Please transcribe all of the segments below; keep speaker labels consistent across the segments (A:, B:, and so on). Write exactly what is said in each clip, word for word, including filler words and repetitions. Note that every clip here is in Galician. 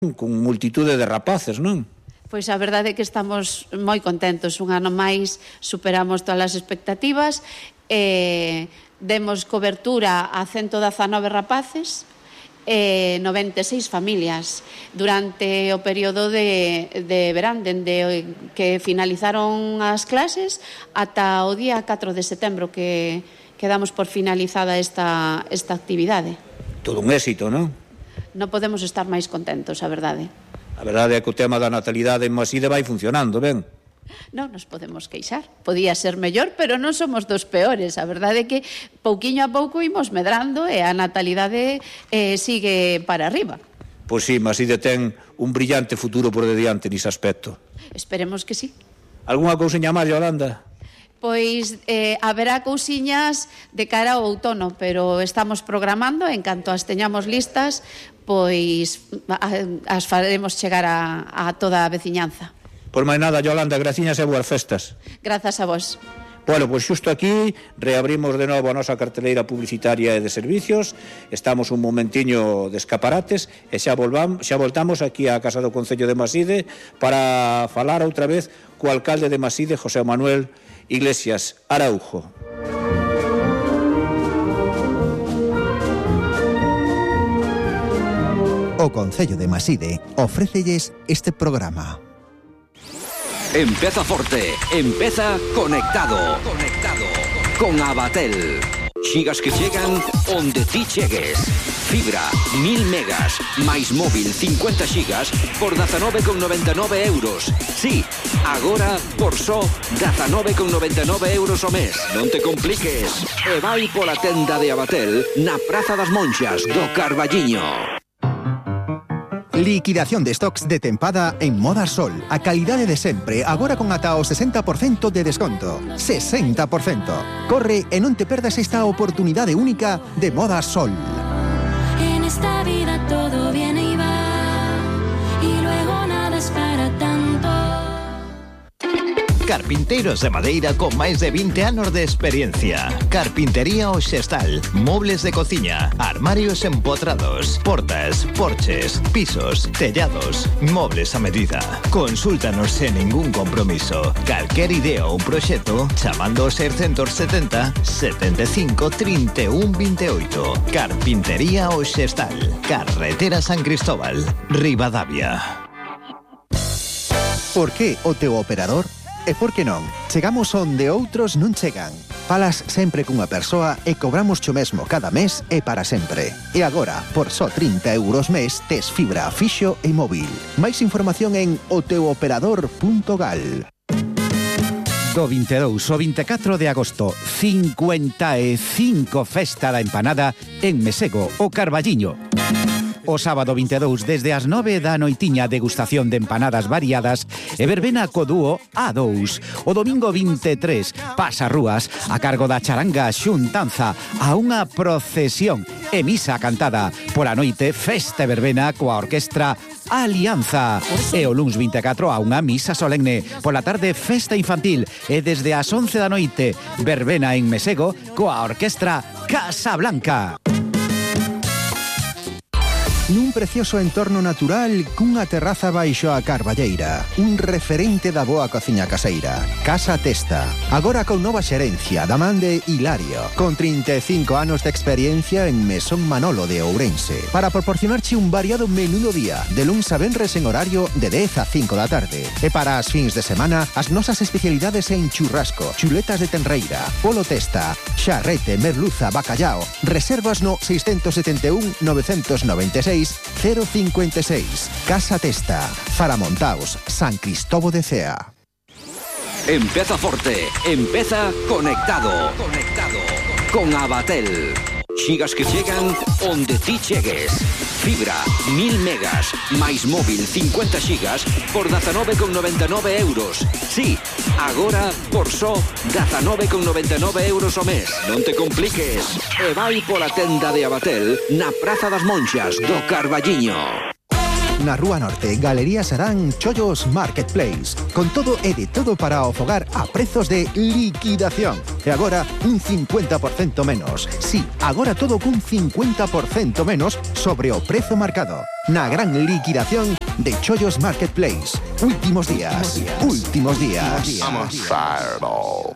A: con multitude de rapaces, non?
B: Pois a verdade é que estamos moi contentos. Un ano máis superamos todas as expectativas e demos cobertura a ciento dezanove rapaces e noventa e seis familias durante o período de, de verán, dende que finalizaron as clases ata o día catro de setembro que, que damos por finalizada esta, esta actividade.
A: Todo un éxito, non?
B: Non podemos estar máis contentos, a verdade.
A: A verdade é que o tema da natalidade en Maside vai funcionando, ben?
B: Non nos podemos queixar. Podía ser mellor, pero non somos dos peores. A verdade é que pouquiño a pouco imos medrando e a natalidade eh, sigue para arriba.
A: Pois sí, Maside ten un brillante futuro por dediante nese aspecto.
B: Esperemos que sí.
A: Algúnha cousiña máis, Yolanda?
B: Pois eh, haberá cousiñas de cara ao outono, pero estamos programando, en canto as teñamos listas, pois as faremos chegar a, a toda a veciñanza.
A: Por máis nada, Yolanda, graciñas e boas festas.
B: Grazas a vos.
A: Bueno, pois xusto aquí reabrimos de novo a nosa carteleira publicitaria e de servicios. Estamos un momentiño de escaparates e xa, volvamos, xa voltamos aquí á Casa do Concello de Maside para falar outra vez co alcalde de Maside, José Manuel Iglesias Araujo.
C: O Concello de Maside ofrécelles este programa.
D: Empeza forte, empeza conectado. Conectado con Abatel. Xigas que chegan onde ti chegues. Fibra, mil megas, máis móvil cincuenta xigas por dezanove con noventa e nove euros. Sí, agora por só dezanove con noventa e nove euros o mes. Non te compliques. E vai pola tenda de Abatel na Praza das Monxas do Carballiño.
C: Liquidación de stocks de tempada en Moda Sol. A calidade de sempre, agora con ata o sesenta por cento de desconto. sesenta por cento. Corre e non te perdas esta oportunidade única de Moda Sol.
E: En esta vida todo viene y va, y luego nada es para tanto.
F: Carpinteiros de madeira con máis de vinte anos de experiencia. Carpintería Oxestal, mobles de cociña, armarios empotrados, portas, porches, pisos, tellados, mobles a medida. Consúltanos sen ningún compromiso. Calquer idea ou proxecto chamando ao seiscentos setenta, setenta e cinco, trinta e un, vinte e oito. Carpintería Oxestal, Carretera San Cristóbal, Ribadavia.
C: Por que o teu operador? E por que non? Chegamos onde outros non chegan. Falas sempre cunha persoa e cobramos xo mesmo cada mes e para sempre. E agora, por só trinta euros mes, tes fibra fixo e móvil. Máis información en o teu operador punto gal.
G: Do vinte e dous ao vinte e catro de agosto, cincuenta e cinco Festa da Empanada en Mesego, o Carballiño. O sábado vinte e dous, desde as nove da noitiña, degustación de empanadas variadas e verbena co dúo A dous. O domingo vinte e tres, pasarrúas a cargo da charanga xuntanza a unha procesión e misa cantada. Pola noite, festa e verbena coa orquestra Alianza. E o luns vinte e catro a unha misa solemne. Pola tarde, festa infantil. E desde as once da noite, verbena en Mesego coa orquestra Casablanca.
C: Nun precioso entorno natural cunha terraza baixo a Carballeira. Un referente da boa cociña caseira. Casa Testa. Agora con nova xerencia da man de Hilario. Con trinta e cinco anos de experiencia en Mesón Manolo de Ourense. Para proporcionarche un variado menú do día. De luns a venres en horario de dez a cinco da tarde. E para as fins de semana, as nosas especialidades en churrasco, chuletas de tenreira, polo testa, xarrete, merluza, bacallao. Reservas no seiscentos setenta e un, novecentos noventa e seis cero cincuenta e seis. Casa Testa, Faramontaos, San Cristóbal de Cea.
D: Empeza forte, empeza conectado. Conectado con Abatel. Xigas que chegan onde ti chegues. Fibra, mil megas, máis móvil cincuenta xigas por dezanove con noventa e nove euros. Sí, agora por só dezanove con noventa e nove euros o mes. Non te compliques. E vai pola tenda de Abatel na Praza das Monxas do Carballiño.
C: Na Rúa Norte, Galería Sarán Chollos Marketplace. Con todo e de todo para o fogar a prezos de liquidación. E agora, un cincuenta por cento menos. Sí, agora todo cun cincuenta por cento menos sobre o prezo marcado. na gran liquidación de Chollos Marketplace. Últimos días, últimos días.
H: I'm a fireball.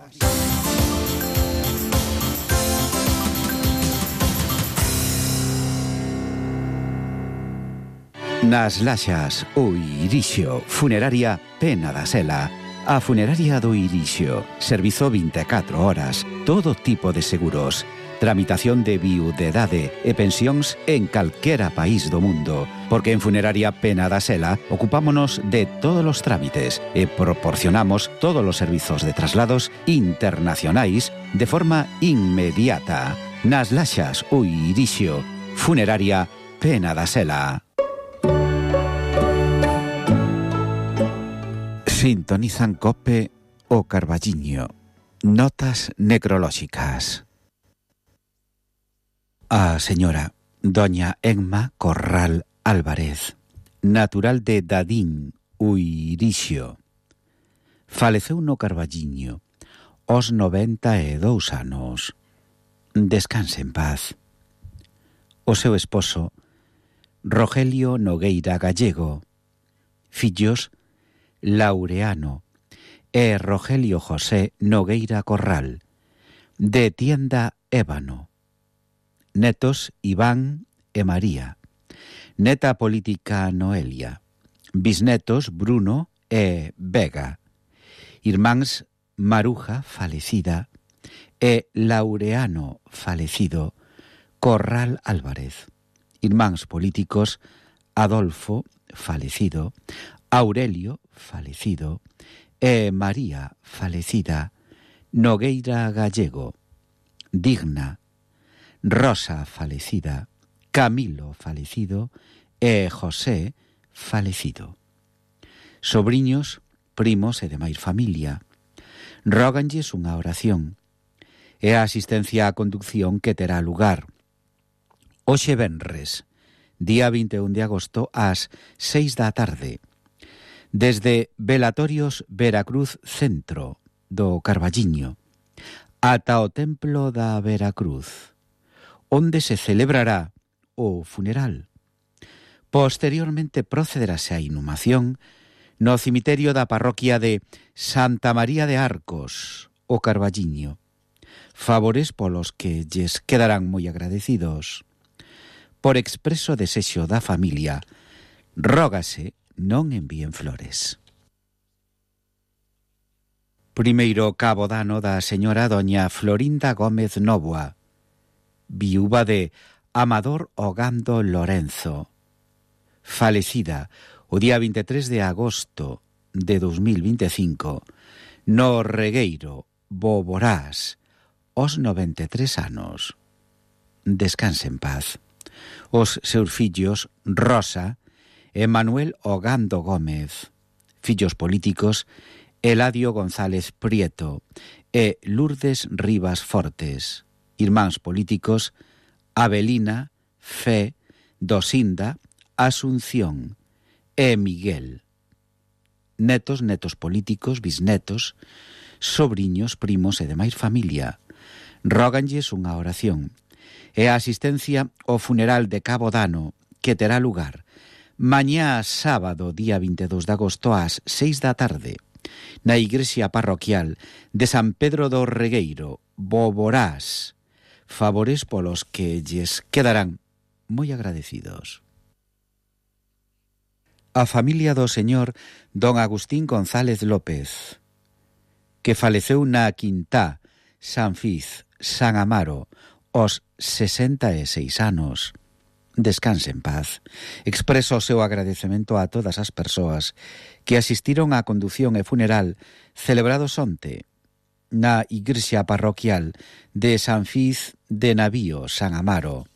G: Nas Laxas, o Irixio, Funeraria Pena da Sela. A Funeraria do Irixio, servizo vinte e catro horas, todo tipo de seguros, tramitación de viudedade e pensións en calquera país do mundo, porque en Funeraria Pena da Sela ocupámonos de todos os trámites e proporcionamos todos os servizos de traslados internacionais de forma inmediata. Nas Laxas, o Irixio, Funeraria Pena da Sela. Sintonizan Cope o Carballiño. Notas necrolóxicas. A señora doña Emma Corral Álvarez, natural de Dadín, Uirixio, faleceu no Carballiño aos noventa e dous anos. Descanse en paz. O seu esposo, Rogelio Nogueira Gallego, fillos Laureano e Rogelio José Nogueira Corral, de Tienda Ébano. Netos Iván e María. Neta política Noelia. Bisnetos Bruno e Vega. Irmáns Maruja falecida e Laureano falecido Corral Álvarez. Irmáns políticos Adolfo falecido, Aurelio falecido e María falecida Nogueira Gallego. Digna, Rosa falecida, Camilo falecido e José falecido. Sobriños, primos e demais familia, róganlles unha oración e a asistencia á conducción que terá lugar hoxe venres, día vinte e un de agosto, ás seis da tarde, desde Velatorios Veracruz Centro do Carballiño ata o Templo da Veracruz, onde se celebrará o funeral. Posteriormente procederase a inhumación no cemiterio da parroquia de Santa María de Arcos, o Carballiño. Favores polos que lles quedarán moi agradecidos. Por expreso desexo da familia, rógase non envíen flores. Primeiro cabo dano da señora doña Florinda Gómez Novoa, viúva de Amador Ogando Lorenzo, falecida o día vinte e tres de agosto de dos mil vinte e cinco, no Regueiro, Boborás, aos noventa e tres anos. Descanse en paz. Os seus fillos Rosa e Manuel Ogando Gómez, fillos políticos Eladio González Prieto e Lourdes Rivas Fortes, irmáns políticos Avelina, Fe, Dosinda, Asunción e Miguel. Netos, netos políticos, bisnetos, sobriños, primos e demais familia, róganlles unha oración e a asistencia ao funeral de Cabo Dano que terá lugar mañá sábado, día vinte e dous de agosto, ás seis da tarde, na igrexa parroquial de San Pedro do Regueiro, Boborás. Favores polos que lles quedarán moi agradecidos. A familia do señor don Agustín González López, que faleceu na Quintá, San Fiz, San Amaro, aos sesenta e seis anos. Descanse en paz. Expreso o seu agradecemento a todas as persoas que asistiron á condución e funeral celebrados onte na igrexa parroquial de San Fiz de Navío, San Amaro,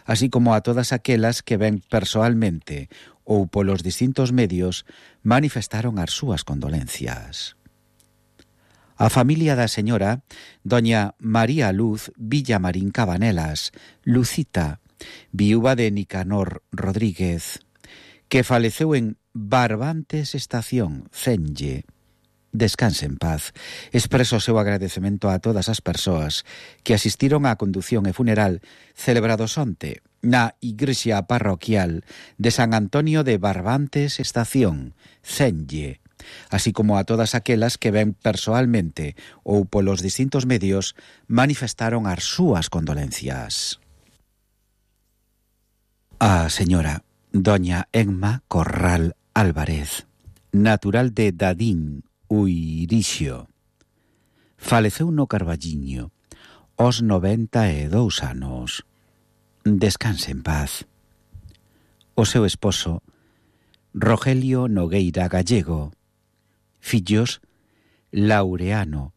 G: así como a todas aquelas que ven persoalmente ou polos distintos medios manifestaron as súas condolencias. A familia da señora doña María Luz Villamarín Cabanelas, Lucita, viúva de Nicanor Rodríguez, que faleceu en Barbantes Estación, Cenlle, descanse en paz. Expreso o seu agradecemento a todas as persoas que asistiron á condución e funeral celebrados onte na igrexa parroquial de San Antonio de Barbantes Estación, Cenlle, así como a todas aquelas que ben persoalmente ou polos distintos medios manifestaron as súas condolencias. A señora doña Emma Corral Álvarez, natural de Dadín, Uirixio, faleceu no Carballiño aos noventa e dous anos. Descanse en paz. O seu esposo, Rogelio Nogueira Gallego, fillos Laureano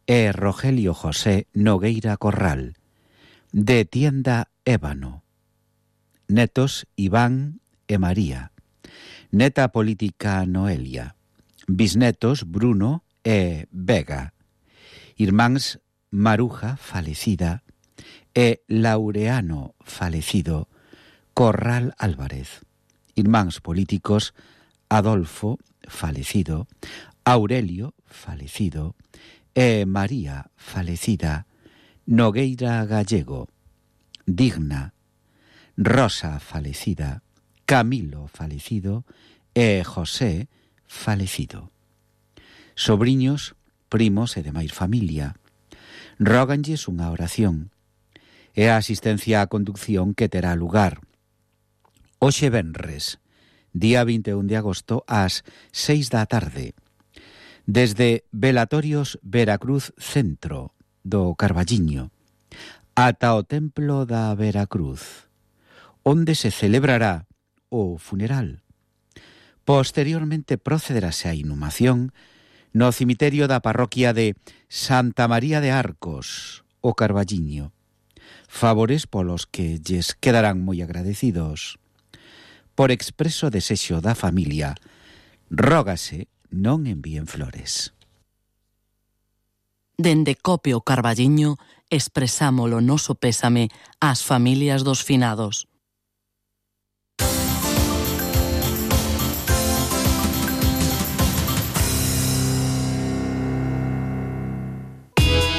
G: e Rogelio José Nogueira Corral, de Tienda Ébano. Netos Iván e María. Neta política Noelia. Bisnetos Bruno e Vega. Irmáns Maruja, falecida, e Laureano, falecido, Corral Álvarez. Irmáns políticos Adolfo, falecido, Aurelio, falecido, e María, falecida, Nogueira Gallego. Digna, Rosa, falecida, Camilo, falecido, e José, falecido. Sobriños, primos e demais familia, róganlles unha oración e a asistencia á conducción que terá lugar hoxe venres, día vinte e un de agosto, ás seis da tarde, desde Velatorios Veracruz Centro do Carballiño ata o Templo da Veracruz, onde se celebrará o funeral. Posteriormente procederase a inhumación no cemiterio da parroquia de Santa María de Arcos, o Carballiño. Favores polos que lles quedarán moi agradecidos. Por expreso desexo da familia, rógase non envíen flores.
I: Dende Cope o Carballiño expresamos o noso pésame ás familias dos finados.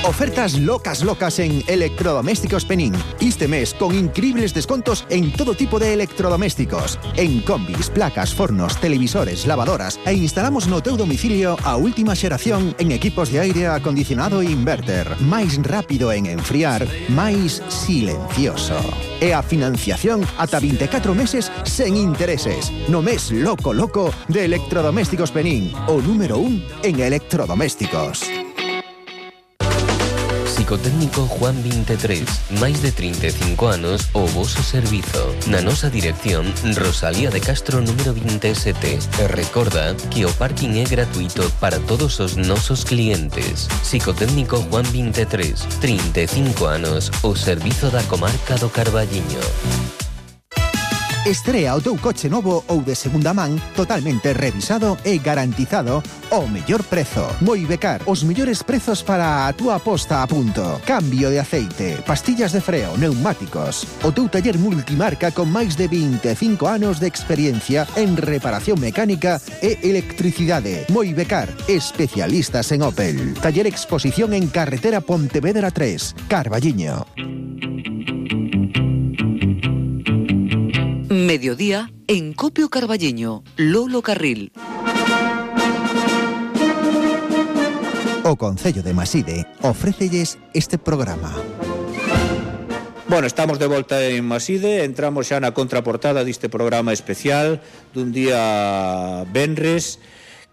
C: Ofertas locas locas en Electrodomésticos Penín. Este mes con increíbles descontos en todo tipo de electrodomésticos. En combis, placas, fornos, televisores, lavadoras e instalamos no teu domicilio a última xeración en equipos de aire acondicionado e inverter. Máis rápido en enfriar, máis silencioso. E a financiación ata vinte e catro meses sen intereses. No mes loco loco de Electrodomésticos Penín, o número un en electrodomésticos.
J: Psicotécnico Juan veintitrés, máis de trinta e cinco anos o voso servizo. Na nosa dirección, Rosalía de Castro número veintisiete. E recorda que o parking é gratuito para todos os nosos clientes. Psicotécnico Juan veintitrés, trinta e cinco anos, o servizo da comarca do Carballiño.
C: Estrea o teu coche novo ou de segunda man totalmente revisado e garantizado ao mellor prezo. Moibecar, os mellores prezos para a túa posta a punto. Cambio de aceite, pastillas de freo, neumáticos. O teu taller multimarca con máis de vinte e cinco anos de experiencia en reparación mecánica e electricidade. Moibecar, especialistas en Opel. Taller Exposición en Carretera Pontevedra tres, Carballiño.
K: Mediodía en Copio Carballiño, Lolo Carril.
C: O Concello de Maside ofrécelles este programa.
A: Bueno, estamos de volta en Maside, entramos xa na contraportada deste programa especial dun día venres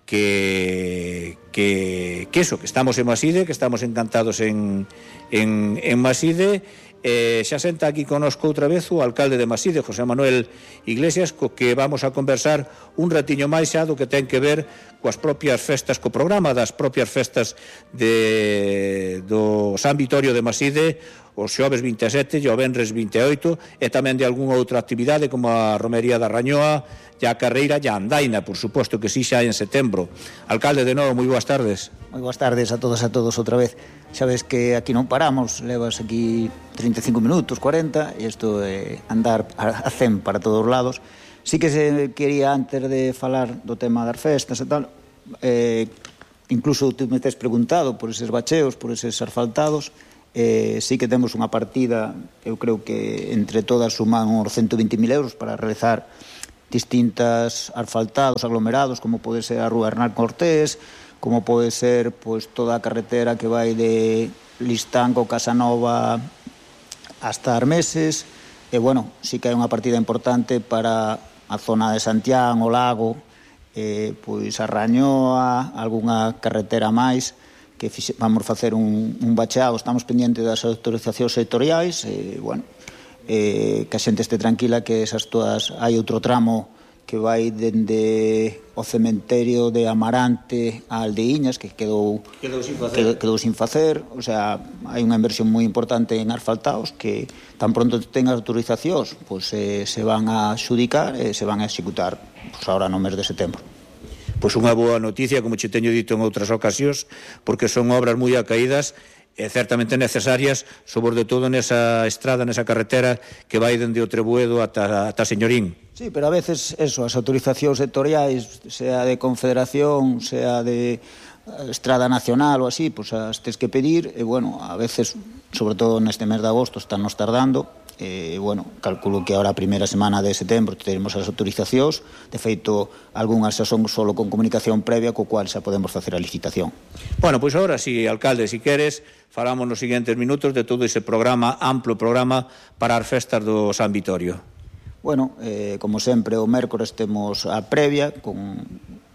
A: que que que eso, que estamos en Maside, que estamos encantados en en en Maside. Eh, xa senta aquí conosco outra vez o alcalde de Maside, José Manuel Iglesias, co que vamos a conversar un ratiño máis xa do que ten que ver coas propias festas, co programa das propias festas de, do San Vitorio de Maside, os xoves vinte e sete e o venres vinte e oito, e tamén de algunha outra actividade como a Romería da Rañoa, e a carreira e a andaina, por suposto que si xa en setembro. Alcalde, de novo, moi boas tardes.
L: Moi boas tardes a todos e a todos outra vez. Sabes que aquí non paramos, levas aquí trinta e cinco minutos, cuarenta, e isto é andar a cen para todos os lados. Sí que se quería, antes de falar do tema das festas e tal, eh, incluso tú me tes preguntado por eses bacheos, por eses asfaltados, eh, sí que temos unha partida, eu creo que entre todas suman uns ciento vinte mil euros para realizar distintas asfaltados, aglomerados, como pode ser a Rúa Hernán Cortés, como pode ser pois, toda a carretera que vai de Listanco, Casanova hasta Armeses, e bueno, sí que hai unha partida importante para a zona de Santián, o Lago, eh, pois a Rañoa, algunha carretera máis, que fixe, vamos facer un, un bacheado, estamos pendientes das autorizacións sectoriais, e bueno, eh, que a xente este tranquila que esas todas, hai outro tramo que vai dende o cementerio de Amarante a Aldeiñas, que quedou
A: quedou sin facer,
L: quedou, quedou sin facer, o sea, hai unha inversión moi importante en asfaltados que tan pronto tengan autorizacións, pois eh, se van a xudicar e se van a executar pois, ahora no mes de setembro.
A: Pois unha boa noticia, como che teño dito en outras ocasións, porque son obras moi acaídas e certamente necesarias, sobre todo nesa estrada, nesa carretera que vai dende o Trebuedo ata, ata Señorín.
L: Sí, pero a veces eso, as autorizacións sectoriais, sea de Confederación, sea de Estrada Nacional ou así, pois as tes que pedir, e bueno, a veces, sobre todo neste mes de agosto, están nos tardando, e bueno, calculo que ahora a primeira semana de setembro teremos as autorizacións, de feito, algunhas xa son solo con comunicación previa, co cual xa podemos facer a licitación.
A: Bueno, pois agora, si, alcalde, si queres, falamos nos seguintes minutos de todo ese programa, amplo programa, para as festas do San Vitorio.
L: Bueno, eh, como sempre, o mércores temos a previa con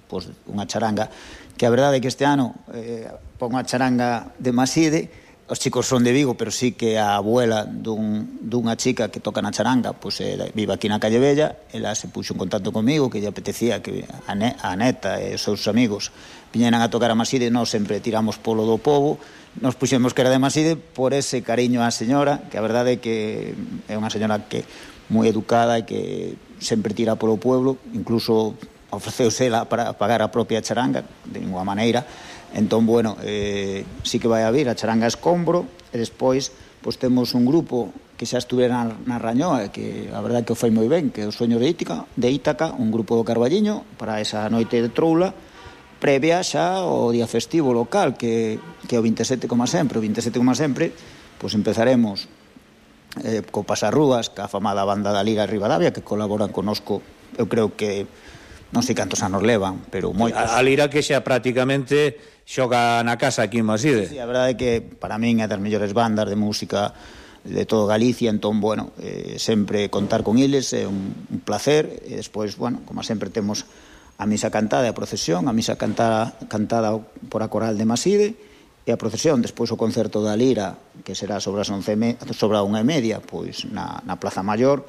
L: pues, unha charanga que a verdade é que este ano eh, pon unha charanga de Maside. Os chicos son de Vigo, pero sí que a abuela dun, dunha chica que toca na charanga pois, eh, vive aquí na Calle Bella. Ela se puxo en contacto comigo que lle apetecía que a, ne, a neta e os seus amigos viñeran a tocar a Maside. Nós sempre tiramos polo do povo, nos puxemos que era de Maside por ese cariño á señora, que a verdade é que é unha señora que moi educada e que sempre tira polo pueblo, incluso ofreceuse ela para pagar a propia charanga de ninguna maneira. Entón, bueno, eh, sí que vai a vir a charanga Escombro, e despois pois temos un grupo que xa estuvera na, na Rañoa, que a verdade que o foi moi ben, que é o Sueño de Ítaca, de Ítaca, un grupo do Carballiño para esa noite de troula, previa xa o día festivo local, que, que é o veintisiete como sempre. O veintisiete como sempre, pois empezaremos eh, co Pasarrúas, ca afamada banda da Liga Ribadavia, que colaboran conosco, eu creo que non sei cantos anos levan, pero moitos.
A: A, a Lira que xa prácticamente xoga na casa aquí en Maside.
L: Sí, a verdade é que para min é das mellores bandas de música de todo Galicia, entón, bueno, eh, sempre contar con eles é un, un placer, e despois, bueno, como sempre temos a misa cantada e a procesión, a misa cantada, cantada por a coral de Maside, e a procesión, despois o concerto da Lira, que será sobre as once, sobre a unha e media, pois na, na Plaza Maior,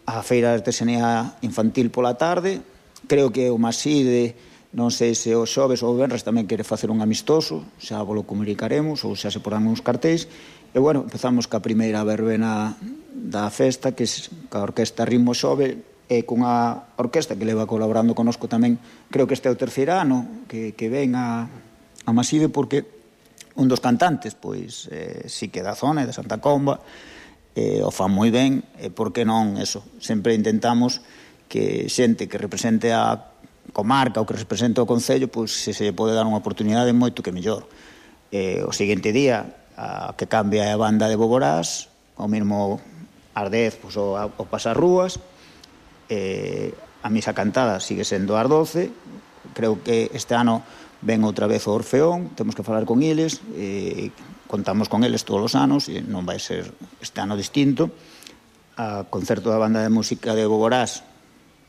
L: a feira de artesanía infantil pola tarde. Creo que o Maside, non sei se o xoves ou o venres tamén quere facer un amistoso, xa vos lo comunicaremos, ou xa se porán uns cartéis. E, bueno, empezamos ca primeira verbena da festa, que é ca orquesta Ritmo Xove, e cunha orquesta que leva colaborando conosco tamén, creo que este é o terceiro ano que, que ven a, a Maside, porque un dos cantantes, pois, eh, sí que da zona, de Santa Comba, eh, o fan moi ben, e por que non, eso, sempre intentamos que xente que represente a comarca ou que represente o concello, pois se se pode dar unha oportunidade moito que mellor. Eh, o seguinte día, a que cambia a banda de Boborás, o mesmo ás dez, pois, o, o Pasarrúas, eh, a misa cantada sigue sendo ás doce. Creo que este ano ven outra vez o Orfeón, temos que falar con eles, eh, contamos con eles todos os anos, e non vai ser este ano distinto. A concerto da banda de música de Boborás,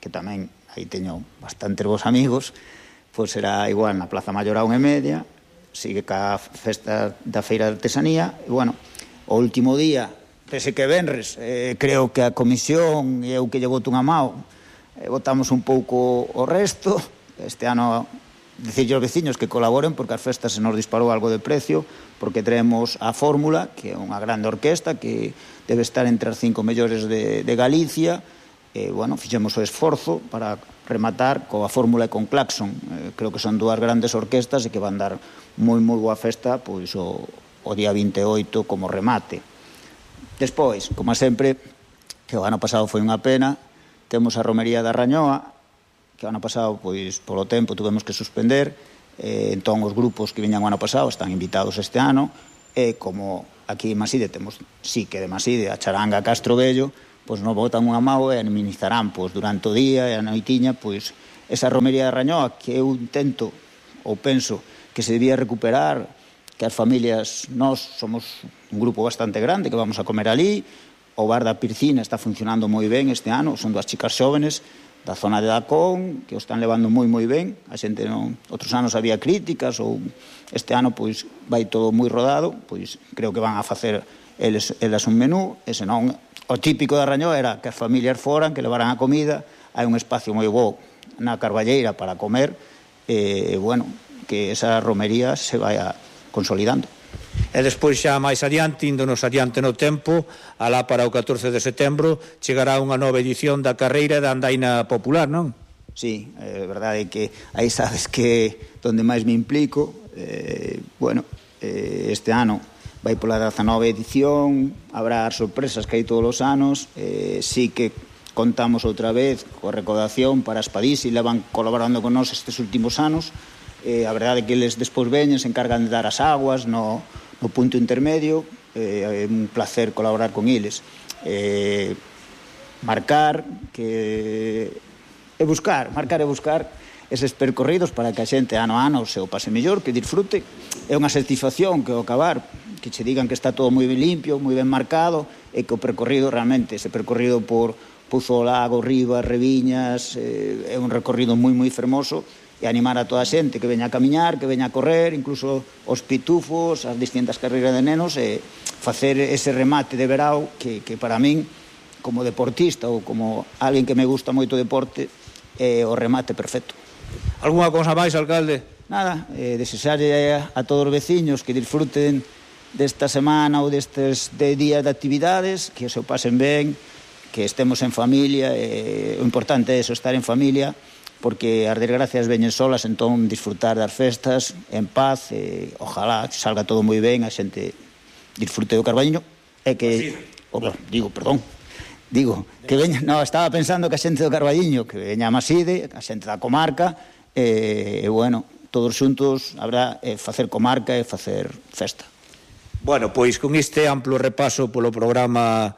L: que tamén aí teño bastantes vos amigos, pois será igual na Plaza Maior a unha e media, sigue ca festa da feira de artesanía, e bueno, o último día, pese que venres, eh, creo que a comisión e eu que lle boto unha mao, eh, votamos un pouco o resto. Este ano, dicirlle aos veciños que colaboren, porque as festas se nos disparou algo de precio, porque traemos a Fórmula, que é unha grande orquesta, que debe estar entre as cinco mellores de, de Galicia. E, bueno, fixemos o esforzo para rematar coa Fórmula e con Claxon. Eh, creo que son dúas grandes orquestas e que van dar moi, moi boa festa pois o, o día vinte e oito como remate. Despois, como sempre, que o ano pasado foi unha pena, temos a Romería da Rañoa, que o ano pasado, pois, polo tempo, tuvemos que suspender, Eh, entón, os grupos que viñan o ano pasado están invitados este ano, e como aquí en Maside temos, sí que de Maside, a charanga Castro Vello, pois nos botan unha mao e administrarán pois, durante o día e a noitiña pois, esa romería de Rañoa que eu intento ou penso que se debía recuperar, que as familias, nós somos un grupo bastante grande que vamos a comer ali, o bar da Pircina está funcionando moi ben este ano, son dúas chicas xóvenes da zona de Dacón, que o están levando moi moi ben, a xente non, outros anos había críticas, ou este ano pois vai todo moi rodado, pois creo que van a facer eles, eles un menú, e senón o típico da Rañoa era que as familias foran, que levaran a comida, hai un espacio moi bo na Carballeira para comer, e bueno, que esa romería se vai a consolidando.
A: E despois xa máis adiante, índonos adiante no tempo, alá para o catorce de setembro, chegará unha nova edición da carreira da andaina popular, non?
L: Sí, é verdade que aí sabes que donde máis me implico, eh, bueno, eh, este ano vai pola dezanove edición, habrá as sorpresas que hai todos os anos, eh, sí que contamos outra vez coa recaudación para as Padís e levan colaborando con nós estes últimos anos. Eh, a verdade é que eles despois veñen, se encargan de dar as aguas no, no punto intermedio, eh, é un placer colaborar con eles. Eh, marcar que e buscar, marcar e buscar eses percorridos para que a xente ano a ano se o pase mellor, que disfrute. É unha satisfacción que ao acabar, que che digan que está todo moi ben limpio, moi ben marcado, e que o percorrido realmente, ese percorrido por Pouzo Lago, Rivas, Reviñas, eh, é un recorrido moi moi fermoso, e animar a toda a xente que veña a camiñar, que veña a correr, incluso os pitufos, as distintas carreiras de nenos, e facer ese remate de verao que, que para min, como deportista ou como alguén que me gusta moito o deporte, é o remate perfecto.
A: Alguna cousa máis, alcalde?
L: Nada, eh, desexarlle a, a todos os veciños que disfruten desta semana ou destes de días de actividades, que se o pasen ben, que estemos en familia, eh, o importante é eso, estar en familia, porque as desgracias veñen solas, entón disfrutar das festas en paz, e ojalá que salga todo moi ben, a xente disfrute do Carballiño, e que, oh, digo, perdón, digo, que veña, no, estaba pensando que a xente do Carballiño, que veña a Maside, a xente da comarca, e, e bueno, todos xuntos habrá eh, facer comarca e facer festa.
A: Bueno, pois con este amplo repaso polo programa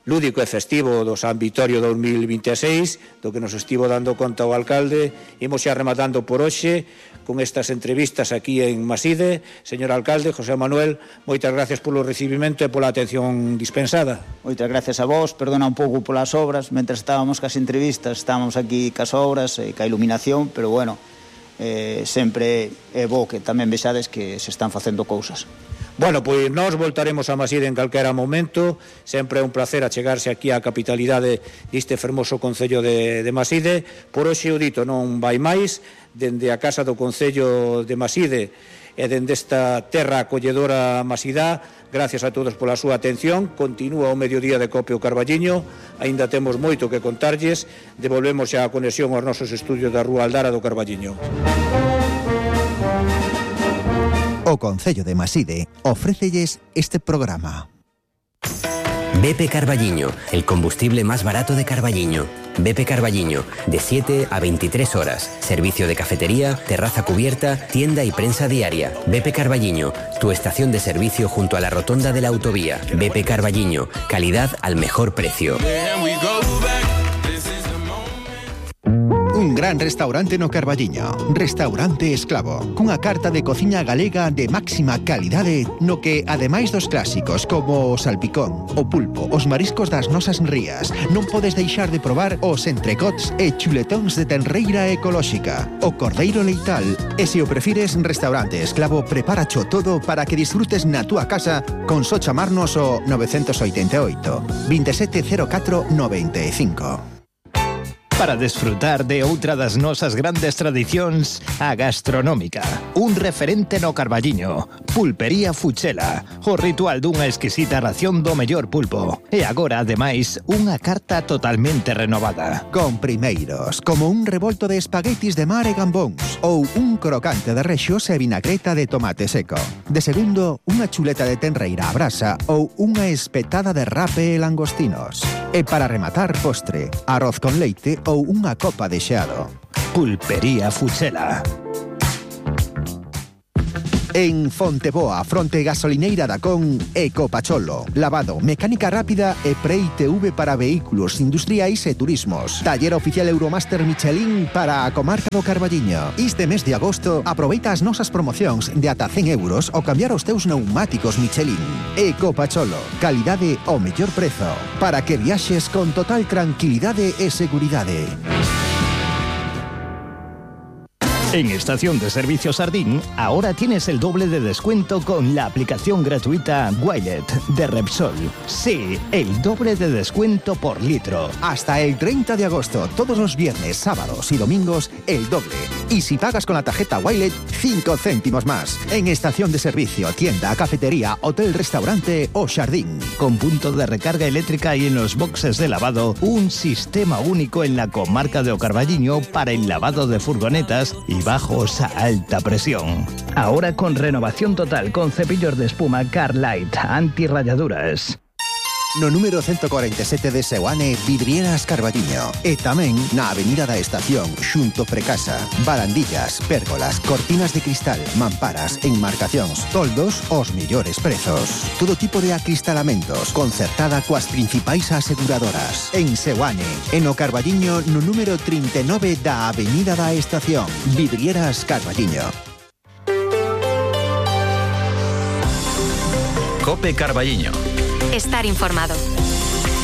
A: lúdico e festivo do San Vitorio dos mil vinte e seis, do que nos estivo dando conta o alcalde, imos xa rematando por hoxe con estas entrevistas aquí en Maside. Señor alcalde, José Manuel, moitas gracias polo recibimento e pola atención dispensada.
L: Moitas gracias a vos, perdona un pouco polas obras, mentre estábamos cas entrevistas, estábamos aquí cas obras e ca iluminación, pero bueno, eh, sempre é bo que tamén vexades que se están facendo cousas.
A: Bueno, pois nós voltaremos a Maside en calquera momento. Sempre é un placer achegarse aquí á capitalidade deste fermoso Concello de, de Maside. Por hoxe o dito non vai máis. Dende a Casa do Concello de Maside e dende esta terra acolledora Masidá, gracias a todos pola súa atención. Continúa o mediodía de Copio Carballiño. Aínda temos moito que contarlles. Devolvemos xa a conexión aos nosos estudios da Rúa Aldara do Carballiño.
C: O Concello de Maside ofrécelles este programa.
M: B P Carballiño, el combustible más barato de Carballiño. B P Carballiño, de siete a veintitrés horas. Servicio de cafetería, terraza cubierta, tienda y prensa diaria. B P Carballiño, tu estación de servicio junto a la rotonda de la autovía. B P Carballiño, calidad al mejor precio.
C: Un gran restaurante no Carballiño, Restaurante Esclavo, cunha carta de cociña galega de máxima calidade, no que, ademais dos clásicos como o salpicón, o pulpo, os mariscos das nosas rías, non podes deixar de probar os entrecots e chuletóns de tenreira ecolóxica, o cordeiro leital, e se o prefires, Restaurante Esclavo preparacho todo para que disfrutes na túa casa con só chamarnos o nove oito oito, veintisiete cero catro noventa e cinco.
F: Para desfrutar de outra das nosas grandes tradicións, a gastronómica. Un referente no Carballiño, Pulpería Fuchela, o ritual dunha exquisita ración do mellor pulpo. E agora, ademais, unha carta totalmente renovada.
C: Con primeiros, como un revolto de espaguetis de mar e gambóns, ou un crocante de rexos e vinagreta de tomate seco. De segundo, unha chuleta de tenreira a brasa ou unha espetada de rape e langostinos. E para rematar, postre, arroz con leite ou unha copa de xeado.
F: Pulpería Fuchela.
C: En Fonteboa, fronte gasolineira da Con, Ecopacholo. Lavado, mecánica rápida e pre-I T V para vehículos industriais e turismos. Taller oficial Euromaster Michelin para a comarca do Carballiño. Este mes de agosto, aproveita as nosas promocións de ata cen euros ao cambiar os teus pneumáticos Michelin. Ecopacholo, calidade ao mellor prezo, para que viaxes con total tranquilidade e seguridade.
F: En Estación de Servicio Sardín, ahora tienes el doble de descuento con la aplicación gratuita Wilet de Repsol. Sí, el doble de descuento por litro.
C: Hasta el treinta de agosto, todos los viernes, sábados y domingos, el doble. Y si pagas con la tarjeta Wilet, cinco céntimos más. En Estación de Servicio, tienda, cafetería, hotel, restaurante o jardín.
F: Con punto de recarga eléctrica y en los boxes de lavado, un sistema único en la comarca de O Carballiño para el lavado de furgonetas y bajos a alta presión. Ahora con renovación total con cepillos de espuma Carlight anti-rayaduras.
C: No número ciento cuarenta y siete de Seoane, Vidrieras Carballiño. E tamén na Avenida da Estación, xunto Precasa. Barandillas, pérgolas, cortinas de cristal, mamparas, enmarcacións, toldos, os mellores prezos. Todo tipo de acristalamentos, concertada coas principais aseguradoras. En Seoane, en o Carballiño, no número trinta e nove da Avenida da Estación. Vidrieras Carballiño.
N: Cope Carballiño.
O: Estar informado.